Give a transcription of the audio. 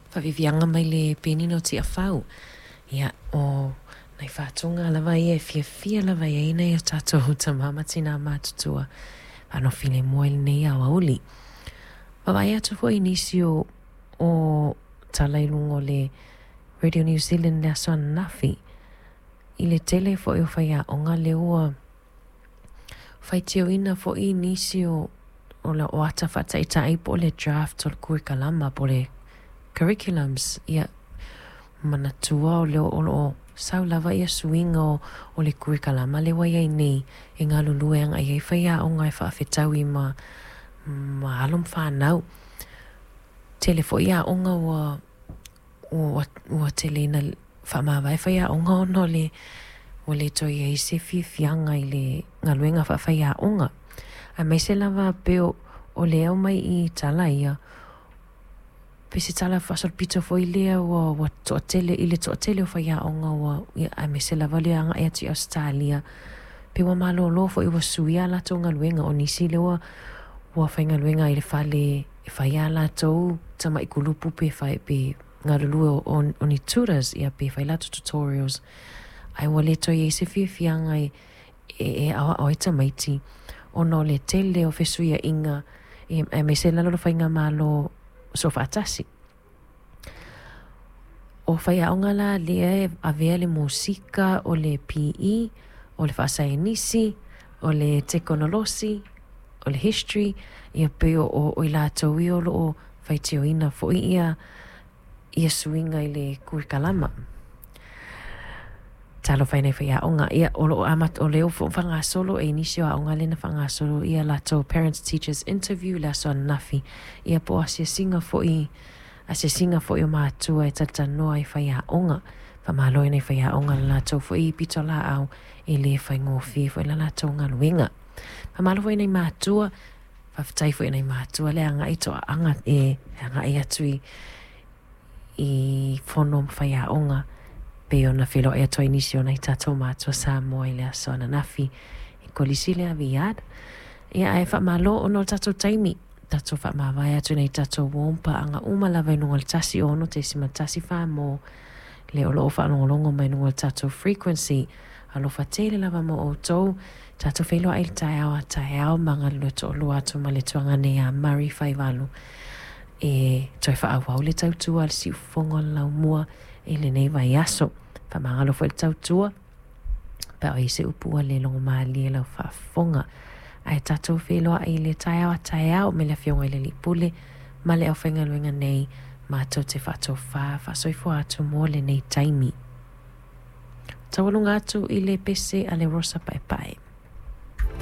Faaviaviaga mai le penina o Tiafau. Ia, o nai faatoga lava ia e fiafia lava i ai nai o tātou tamā ma tinā matutua. Faanofi le mua i lenei aoauli. Vaavaai atu foi i nisi o tala i luga o le Radio New Zealand le aso ananafi i le tele foi o faiaoga lea ua faitioina foi nisi o ata faataitai po o le draft o le kurikalama po o le curriculums. Ia, manatua o lea o lo o sau lava ia suiga o le kurikalama lea ua i ai nei e galulue agai ai faiaoga e faafetaui ma alo ma fanau. Tele foi aoga ua tele ina faamavae faiaoga ona o le ua le toe i ai se fiafiaga i le galuega faafaiaoga. Aemaise lava pei o le aumai i tala ia, pei se tala faasolopito foi lea ua toatele, i le toatele o faiaoga ua, ia, aemaise lava le agai atu i Ausetalia, pe ua malōlō foi ua suia a latou galuega. O nisi lea ua faigaluega i le fale e fai a latou tamai kulupu pe fai pe galulue o ni tutors, ia pe fai latou tutorials. Ae ua le toe i ai se fiafiaga e aoao ai tamaiti ona o le tele o fesuiaiga aemaise lalo o le faigamalo soofaatasi. O faiaoga la lea e avea le musika, o le PE, o le faasaienisi, o le tekonolosi, o le history, ia pei o i latou ia o lo o faitioina foi ia suiga i le kurikalama. Talofa e nai faiaoga. Ia, o lo o amata, o lea ua faagasolo e i nisi o aoga lea na faagasolo ia latou Parents Teachers Interview le aso ananafi. Ia po o asiasiga foi, asiasiga foi o matua e talatalanoa i faiaoga. Faamalo i nai faiaoga le latou foi pitolaau e le faigofie foi la latou galuega. Faamalo foi i nai matua, faafetai foi i nai matua le agai toaaga e agai atu i fono ma faiaoga pei ona feiloai atu ai nisi o nai tātou matua Samoa i le aso ananafi i Kolisi le Aviad. Ia ae faamalo ona o le tatou taimi. Tatou faamavae atu nei tatou uō ma paaga uma lava i luga o le 106.1 mo le o lo o faalogologo mai luga o le tatou frequency. Alofa tele lava mo outou. Tatou feiloai i le taeao a taeao ma galulue toalua atu ma le tuagane ia Murray Faivalu e toe faaauau le tautua a le siufofoga o le laumua i lenei vaiaso. Faamagalo foi le tautua pe a o i ai se upu ua le logomalie lau faafofoga. Ae tatou feiloai i le taeao a taeao me le Afioga i le Alii Pule ma le aufaigaluega nei matou te faatofā faasoifua atu mo lenei taimi. Taualuga atu i le pese a le Rosa Paepae.